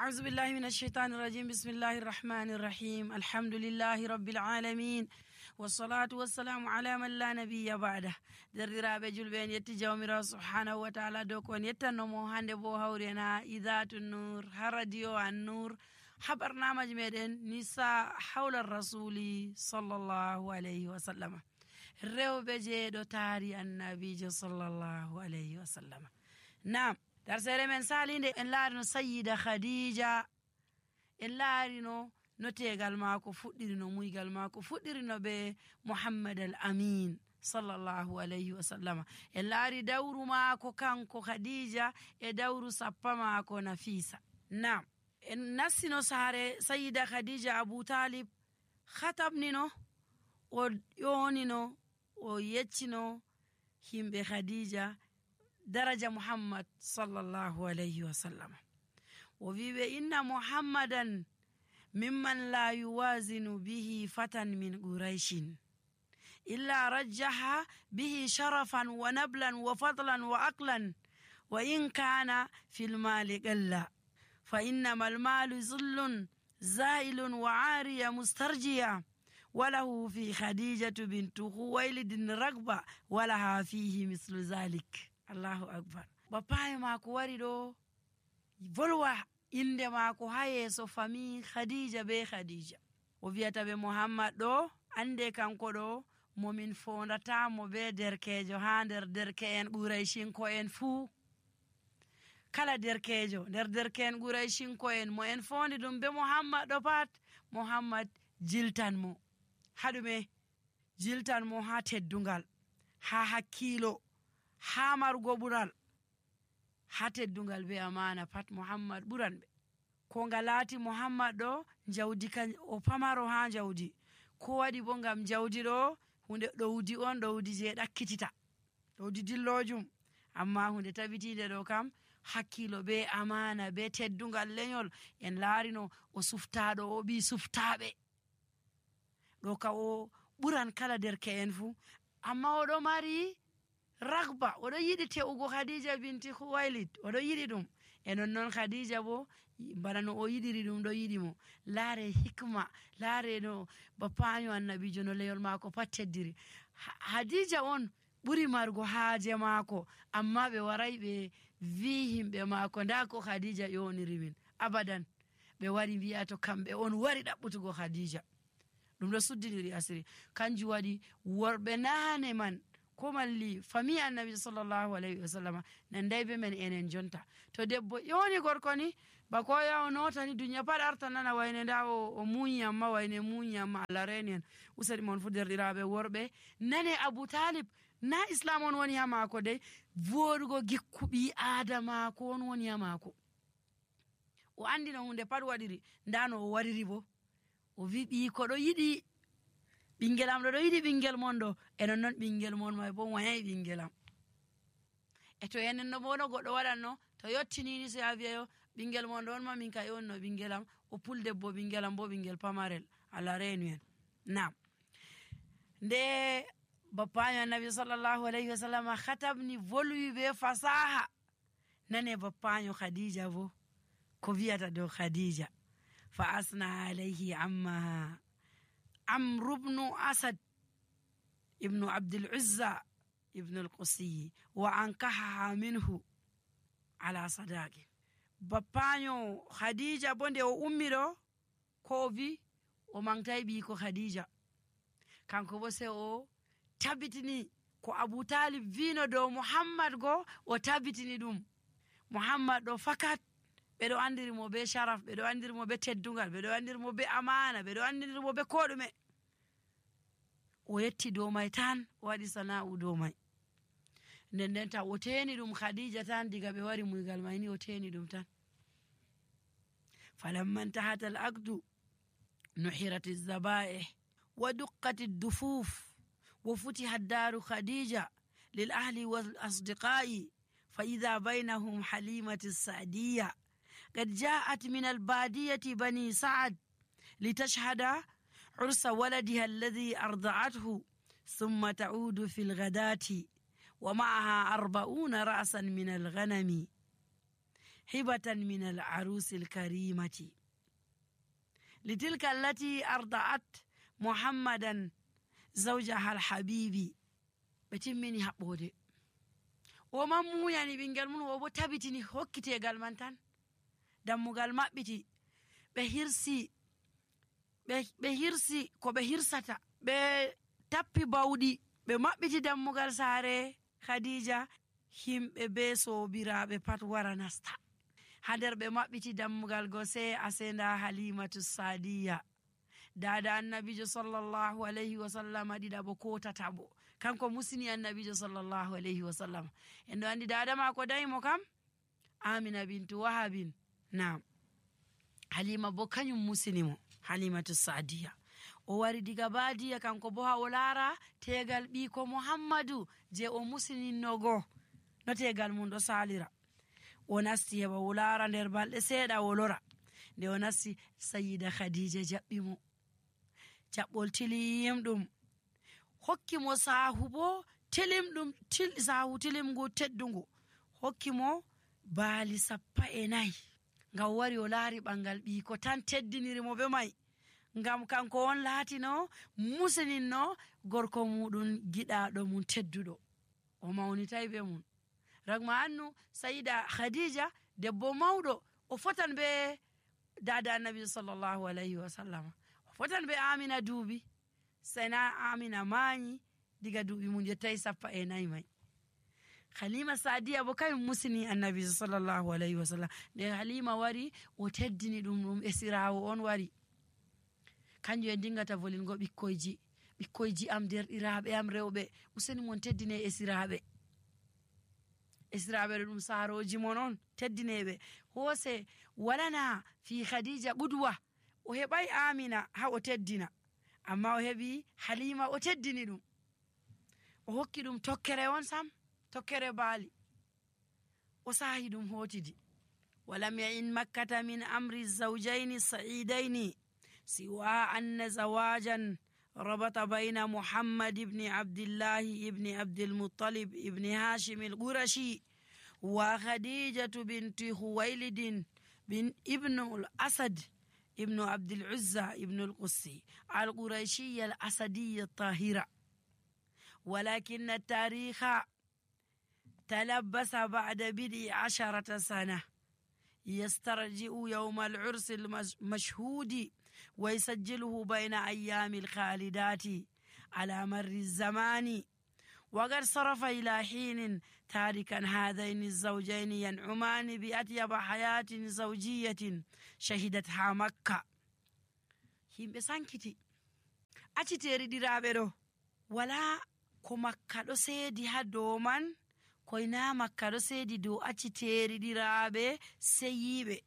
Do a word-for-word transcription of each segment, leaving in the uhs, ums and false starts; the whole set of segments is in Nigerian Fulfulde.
أعوذ بالله من الشيطان الرجيم. بسم الله الرحمن الرحيم. الحمد لله رب العالمين والصلاة والسلام على من لا نبي بعده. دررابه julben yetti jawmirawo subhanahu wa ta'ala dow ko yettanno mo hande bo hawrena idatun nur ha radio an nur habarnamaji meden nisa hawla rasuli sallallahu alayhi wa sallam rewbe jeedo taari annabijo sallallahu alayhi wa sallam. Naam, darsere men salinde en laarino sayyida khadija, en laarino no tegal maako fuddiri, no muygal maako fuddiri, no be muhammad al amin sallallahu alayhi wa sallam. En laari dawru maako kanko khadija e dawru sappa maako nafisa. Naam, en nassino saare sayyida khadija abu talib khatabnino o yonino o yeccino himbe khadija daraja muhammad sallallahu alayhi wa sallam. O wiwe inna muhammadan mimman la yuwazinu bihi fatan min quraishin illa rajjaha bihi sharafan wa nablan wa fadlan wa aqlan wa in kana fil mali qalla fa innama al malu zullun zailun wa ariya mustarjiya وله في خديجة بنت خويلد رغبة ولها فيه مثل ذلك. Allahu akbar. Bapaye mako wari do volwa inde mako ha yeso fami Khadija be Khadija. O wi'ata be Muhammad do ande kanko do momin fondata mo be derkejo ha nder derkeen Quraishin ko en fu. Kala derkejo nder derkeen Quraishin ko en mo en fondi dum be Muhammad do pat, Muhammad jiltan mo hadume jiltan mo ha teddungal, ha hakkilo, ha marugo bural, ha teddungal be amana pat Muhammad buran be. Ko ngalati Muhammad do jawdi kan o pamaro ha jawdi, ko wadi bo ngam jawdi do hunde dowdi on dowdi je dakkitita, dowdi dillojum, amma hunde tabitide do kam hakkilo be amana be teddungal lenyol. En laarino o suftado o bi suftabe do ka o buran kala derke en fu, amma o do mari ragba, odo yidi teugo Khadija binti Khuwailid, odo yidi dum. Enon non Khadija bo barano o yidiri dum do yidi mo. Laare hikma, laare no bapanyo annabijo no leyol mako pat teddiri. Khadija on buri margo haaje mako, amma be waray be vi himbe mako nda ko Khadija yoniri min. Abadan be wari biya to kambe on wari dabbutugo Khadija. Dum do suddiniri asiri. Kanji wadi worbe nane man ko malli fami annabi sallallahu alayhi wa sallam nan daybe men enen jonta. To debbo yoni gorko ni bako yawo notani dunya pat arta nana wayne ndawo o munya ma wayne munya ma larenen usari mon fuderdiraabe worbe nane Abu Talib na islam on woni ha mako de vodugo gikkubi adama ko on woni ha mako. O andi no hunde pat wadiri ndano o wariri bo o wi bi ko do yidi bingelam do yidi bingel mondo enon non bingel mon may bo wayi bingelam. E to enen no bono goddo wadanno to yottini ni se aviyo bingel mondo on ma min kay on no bingelam o pulde bo bingelam bo bingel pamarel ala renuen. Naam, nde bapanyo nabi sallallahu alayhi wa sallam khatabni volwi be fasaha nane bapanyo Khadija bo ko wiata do Khadija fa asna alayhi amma عمرو بن أسد ابن عبد العزة ابن القصي وأنكحها منه على صداقه. بابانيو خديجة بونده o ummiro ko vi o mangtay bi ko Khadija, kanko bo se o tabitini ko Abu Talib vino do Muhammad go o tabitini dum. Muhammad do fakat bedo andiri mo be sharaf, bedo andiri mo be teddungal, bedo andiri mo be amana, bedo andiri mo be kodume. O yetti do may tan o wadi sana'u do may. Nden den ta o teni dum Khadija tan diga be wari muygal may ni o teni dum tan. Falamma intahat al-aqdu nuhirat az-zaba'ih wa duqqat ad-dufuf wa futihat daru Khadija lil ahli wal asdiqai fa idha bainahum Halimatu as-Sa'diyya قد جاءت من البادية بني سعد لتشهد عرس ولدها الذي أرضعته ثم تعود في الغداة ومعها أربعون رأسا من الغنم. hibatan min al arusi al karimati litilka allati arda'at muhammadan zawjaha al habibi. ɓe timmini haɓɓode, o man muyani ɓingel mum, o bo tabitini hokkitegal man tan. dammugal maɓɓiti, ɓe hirsi ɓe hirsi ko ɓe hirsata, ɓe tappi bawɗi, ɓe maɓɓiti dammugal saare Khadija. Himɓe be sobiraɓe pat wara nasta ha nder. ɓe maɓɓiti dammugal go sai asenda Halimatu Sadiya, dada annabijo sallallahu alayhi wa sallam ɗiɗa bo ko tata bo, kanko musini annabijo sallallahu alayhi wa sallam. en ɗo andi dada mako dayimo kam Amina bintu Wahabin. Naam, Halima bo kanyum musinimo, Halimatu Sadiya. o wari diga badiya kanko bo ha o laara tegal ɓiko Muhammadu je o musininnogo no tegal mum ɗo salira. o nasti heɓa o laara nder balɗe seeɗa o lora. nde o nasti Sayyida Khadija jaɓɓimo jaɓɓol tilim ɗum, hokkimo sahu bo tilim ɗum, til sahu tilimgu teddungu, hokkimo baali sappa e nayi ngam o wari o laari ɓangal ɓiko tan teddinirimo be mai, ngam kanko on laatino musininno gorko muɗum giɗaɗo mum tedduɗo. o mawnitay be mum. ragma annu Sayyida Khadija debbo mawɗo, o fotan be dada annabi sallallahu alayhi wa sallam, o fotan be Amina duubi, sayna Amina mayi diga duuɓi mum yettay sappa e nayi mai. Halima Sadiya bo kayum musini annabi sallallahu alayhi wa sallam. nde Halima wari o teddini ɗum ɗum esirawo on wari, kanjum en dingata volingo ɓikkoyji ɓikkoyji am derɗiraɓe am rewɓe, useni mon teddine esiraɓe. esiraɓe ɗum saroji mon on, teddineɓe. hose walana fi Khadija budwa, o heɓai Amina ha o teddina, amma o heɓi Halima o teddini ɗum, o hokki ɗum tokkere on sam, tokkere baali, o sahi ɗum hotidi. walam ya'in makkata min amri zawjaini sa'idaini siwa anna zawajan rabata bayna Muhammad ibn Abdullah ibn Abdul Muttalib ibn Hashim al-Qurashi wa Khadijatu binti Khuwaylid bin ibn al-Asad ibn Abdul Uzza ibn al-Qussi al-Qurashiyya al-Asadiyya al-Tahira. ولكن التاريخ تلبس بعد بضع عشرة سنة يسترجع يوم العرس المشهود ويسجله بين أيام الخالدات على مر الزمان. وقد صرف إلى حين تاركا هذين الزوجين ينعمان بأطيب حياة زوجية شهدتها مكة. هم بسانكتي أتتيري ديرابيرو ولا ko makka ɗo seedi ha dow man, koyna makka ɗo seedi dow acciteeri ɗiraaɓe seyiɓe.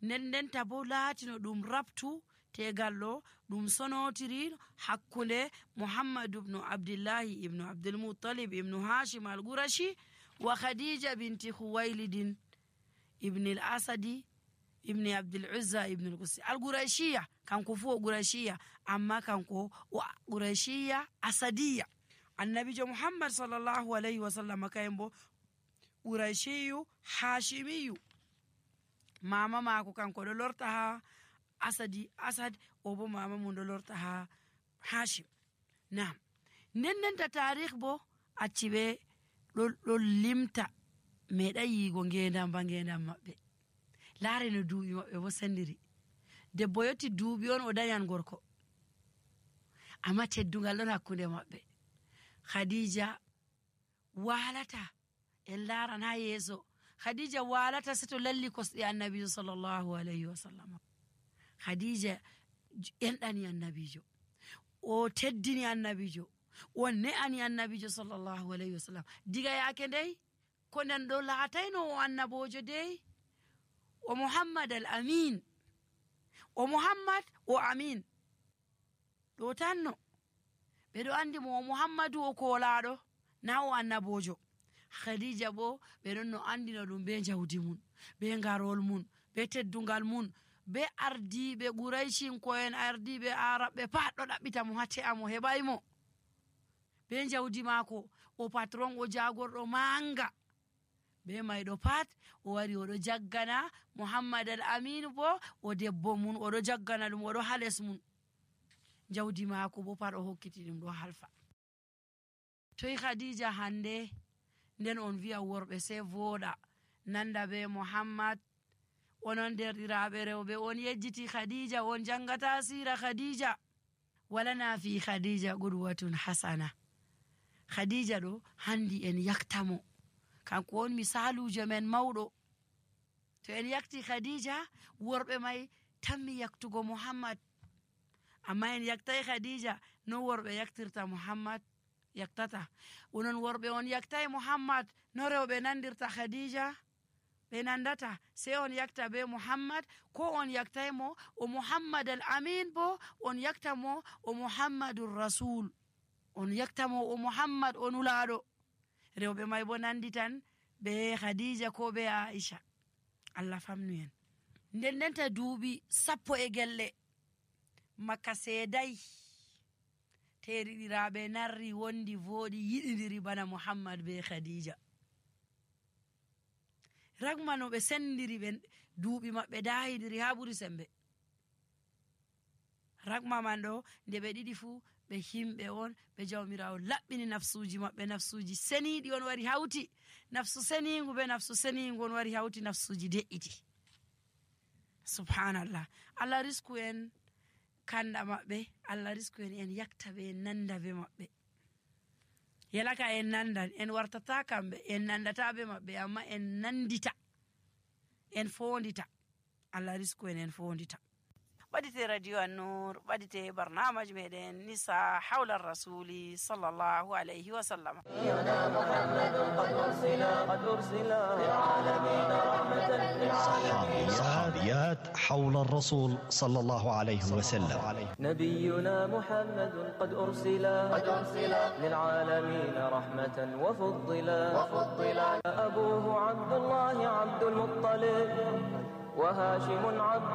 nden ndenta bo laatino ɗum rabtu tegal ɗo ɗum sonotiri hakkunde Muhammadu ibnu Abdillahi ibnu Abdulmuttalib ibnu Hashim al-Qurashi wa Khadija binti Khuwaylidin ibn al-Asadi ibn Abdul Uzza ibn al-Qussi al-Qurashiyya. kanko fu o Qurashiyya, amma kanko o Qurashiyya Asadiyya. annabijo Muhammad sallallahu alayhi wa sallam kayen bo Qurashiyyu Hashimiyyu. mama mako kanko ɗo lorta ha Asadi Asad, o bo mama mum ɗo lorta ha Hashim. Naam, nden ndenta tarikh bo acci ɓe ɗo limta meɗa yigo ngendam ba ngendam maɓɓe. laare no duuɓi maɓɓe bo sendiri. debbo yotti duuɓi on o dañan gorko, amma teddungal ɗon hakkunde maɓɓe. Khadija walata en laran ha yeeso, Khadija walata seto lalli kosɗe annabijo sallallahu alayhi wa sallam. Khadija enɗani annabijo, o teddini annabijo, o ne'ani annabijo sallallahu alayhi wa sallam. diga yaake ndey ko nden ɗo laatayno o annabojo dey, o Muhammad al-Amin, o Muhammad o Amin ɗo tanno ɓeɗo andi mo o Muhammadu o kolaɗo na o annabojo. Khadija bo ɓeɗon no andino ɗum be jawdi mun, be ngarol mun, be teddungal mun, be ardiɓe Qurayshin ko'en, ardiɓe Araɓe pat ɗo ɗaɓɓita mo hatte amo heɓaymo, be jawdi mako, o patron, o jagorɗo manga, be mayɗo pat o wari oɗo jaggana Muhammad al Amin bo o debbo mun oɗo jaggana ɗum oɗo ha les mun, jawdi maako bo pat o hokkiti ɗum ɗo halfa. Toyi Khadija hande nden on wi'a worɓe sai voɗa nanda be Muhammad. Onon derɗiraɓe rewɓe on yejjiti Khadija, on jangata sira Khadija. Walana fi Khadija qudwatun hasana. Khadija ɗo handi en yaktamo, kanko on misalujo men mawɗo. To en yakti Khadija, worɓe may tammi yaktugo Muhammad, amma en yaktai Khadija no worɓe yaktirta Muhammad yaktata. Onon worɓe on yaktai Muhammad no rewɓe nandirta Khadija ɓe nandata. Sai on yakta be Muhammad, ko on yaktai mo o Muhammad al Amin bo on yakta mo o Muhammadur Rasul, on yakta mo o Muhammad o nulaɗo. Rewɓe may bo nanditan be Khadija ko be Aisha. Allah famnu en. Nden ndenta duuɓi sappo e gelle Makka seeday teriɗiraɓe narri wondi voɗi yiɗidiri bana Muhammad be Khadija. Ragma no ɓe sendiri ɓe duuɓi maɓɓe dayidiri ha ɓuri sembe. Ragma man ɗo nde ɓe ɗiɗi fu ɓe himɓe on ɓe jawmirawo laɓɓini nafsuji maɓɓe, nafsuji seniɗi on wari hawti, nafsu senigu be nafsu senigu on wari hawti, nafsuji de'iti. Subhanallah. Allah risku en kanda maɓɓe, Allah risku en en yakta ɓe en nanda be maɓɓe. Yalaka en nandan, en wartata kamɓe, en nandata be maɓɓe, amma en nandita, en fondita. Allah risku en en fondita. ɓadite radio An-Nur, ɓadite barnamaji meɗen nisa hawla rasuli sallallahu alayhi wa sallam. صحابيات حول الرسول صلى الله عليه وسلم. نبينا محمد قد أرسلا للعالمين رحمة وفضلا. أبوه عبد الله عبد المطلب وهاشم عبد